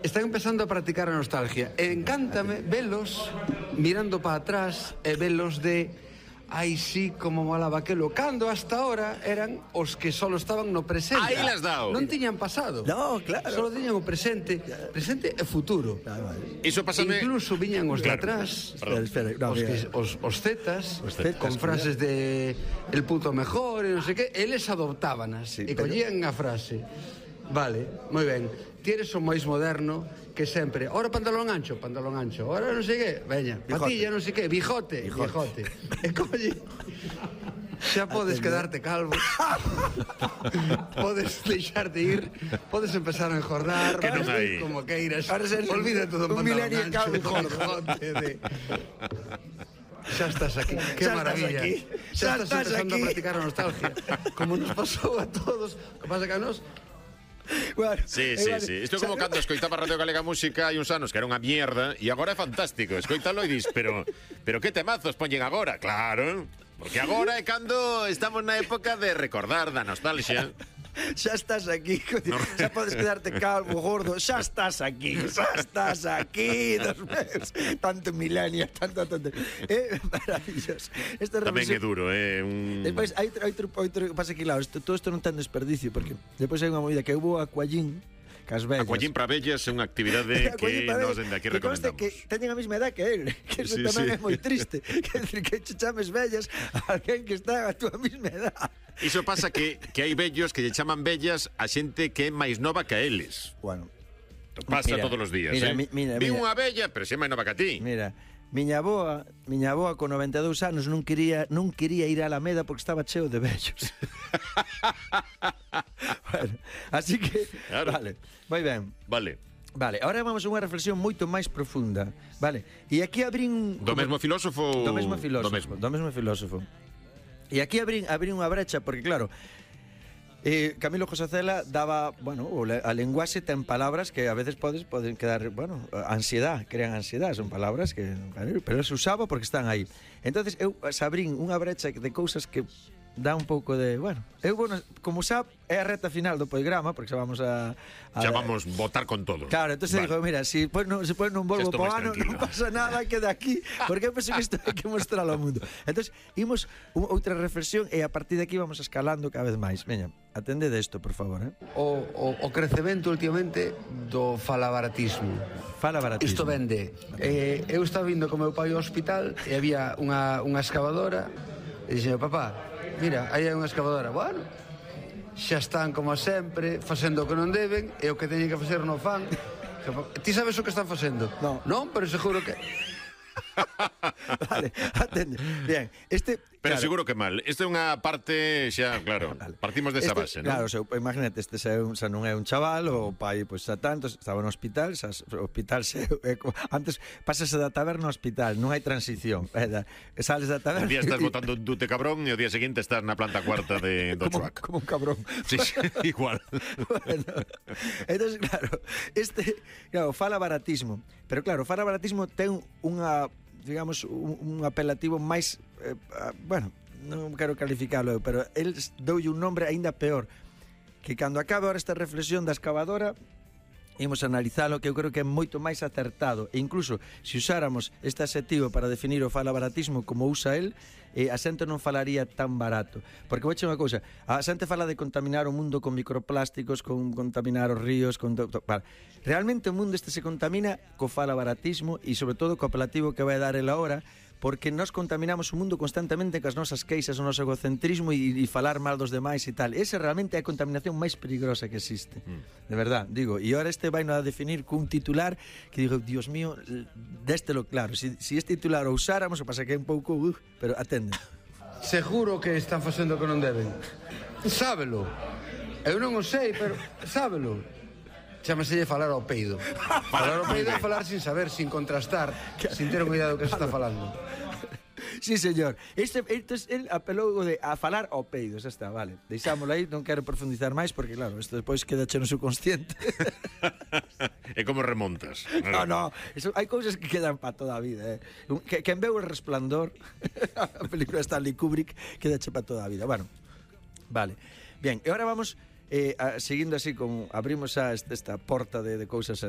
están empezando a practicar a nostalgia. E encántame velos mirando para atrás e velos de ai, sí, como molaba aquelo. Cando hasta ahora eran os que solo estaban no presente. Aí las dao. Non tiñan pasado. No, claro. Solo tiñan o presente e futuro. Iso pásame... Incluso viñan os de atrás, Espera, no, os zetas, con frases de el puto mejor e non sei que, eles adoptábanas e collían a frase. Vale, moi ben. Ti eres o máis moderno que sempre. Ora pantalón ancho. Ora non sei que, veña, patilla, non sei que, bijote. E colle, xa podes quedarte calvo. Podes deixarte ir, podes empezar a engordar, Que non hai. como queiras. Olvida todo un pantalón milenio ancho, calvo, bijote. Xa estás aquí, que maravilla. Xa estás empezando a practicar a nostalgia. Como nos pasou a todos. O que pasa que a nos Bueno, Sí. Isto é como cando escoitaba Radio Galega Música hai uns anos que era unha mierda e agora é fantástico. Escoítalo e dis, pero que temazos poñen agora? Claro, porque agora é cando estamos na época de recordar da nostalgia. xa estás aquí, xa podes quedarte calvo, gordo, xa estás aquí, dos meus. Tanto milenio, tanto. Maravilloso. Tamén é duro, Despois, hai outro pasa que, claro, todo isto non ten desperdicio, porque despois hai unha movida que hubo aquallín, cas vellas. Aquallín para vellas é unha actividade que nos dende aquí recomendamos. Que teñen a mesma edad que él, que eso tamén é moi triste. Quer decir, que che chames vellas a alguén que está a túa mesma edad. Iso pasa que hai vellos que lle chaman vellas a xente que é máis nova que a eles. Bueno, Pasa todos os días, mira. Vi unha vella, pero xe máis nova que a ti. Mira, miña avoa con 92 anos non quería ir á Alameda porque estaba cheo de vellos. Bueno, así que, claro. Vale, moi ben. Vale, agora vamos a unha reflexión moito máis profunda, vale? E aquí abrín... Do mesmo filósofo? Do mesmo filósofo. E aquí abrín unha brecha, porque claro, Camilo José Cela daba, bueno, a lenguaxe ten palabras que a veces poden quedar, bueno, crean ansiedade, son palabras que, pero se usaba porque están aí. Entonces eu abrín unha brecha de cousas que dá un pouco de, bueno, como sabe, é a reta final do programa, porque xa vamos a vamos votar con todo. Claro, entonces digo, mira, se non volvo po ano, non pasa nada, queda aquí, porque eu penso que isto hai que mostralo ao mundo. Entonces, imos outra reflexión e a partir de aquí vamos escalando cada vez máis. Veña, atende desto, por favor, O crecemento últimamente do falabaratismo. Isto vende. Eu estaba vindo co meu pai ao hospital e había unha excavadora e dixen, papá, mira, aí hai unha excavadora. Bueno, xa están como sempre facendo o que non deben e o que teñen que facer non fan. Ti sabes o que están facendo? Non, pero seguro que... Vale, atende. Bien, Pero claro, seguro que mal. Isto é unha parte xa, claro, partimos desa base, non? Claro, imagínate, xa non é un chaval, o pai, pois, xa tanto, estaba no hospital, antes pasase da taberna ao hospital, non hai transición. Sales da taberna... Un día estás botando un dute cabrón e o día seguinte estás na planta cuarta do Chuac. Como un cabrón. Sí, igual. Bueno, entonces, claro, fala baratismo. Pero claro, fala baratismo ten unha, digamos, un apelativo máis, bueno, non quero calificalo, pero el doulle un nombre aínda peor, que cando acabe ahora esta reflexión da excavadora imos analizalo, que eu creo que é moito máis acertado, e incluso se usáramos este adxetivo para definir o falabaratismo como usa el, a xente non falaría tan barato, porque vou unha cousa, a xente fala de contaminar o mundo con microplásticos, con contaminar os ríos, realmente o mundo se contamina co falabaratismo e sobre todo co apelativo que vai dar el ahora, porque nós contaminamos o mundo constantemente cas nosas queixas, o noso egocentrismo e falar mal dos demais e tal. Esa realmente é a contaminación máis peligrosa que existe. De verdad, digo. E ahora vai a definir cun titular que digo, Dios mío, déstelo claro. Si este titular o usáramos, o pasa que é un pouco... pero atende. Seguro que están facendo o que non deben. Sábelo. Eu non o sei, pero sábelo. Chámaselle falar ao peido. Falar ao peido é falar sin saber, sin contrastar, sin ter unha idea do que se está falando. Sí, señor. El apelou a falar ao peido, xa está, vale. Deixámoslo aí, non quero profundizar máis porque claro, isto despois queda che no subconsciente. E como remontas? No, hai cousas que quedan para toda a vida, Quen veu El Resplandor, a película de Stanley Kubrick, queda che para toda a vida. Bueno, vale. Bien, e agora vamos seguindo así, abrimos esta porta de cousas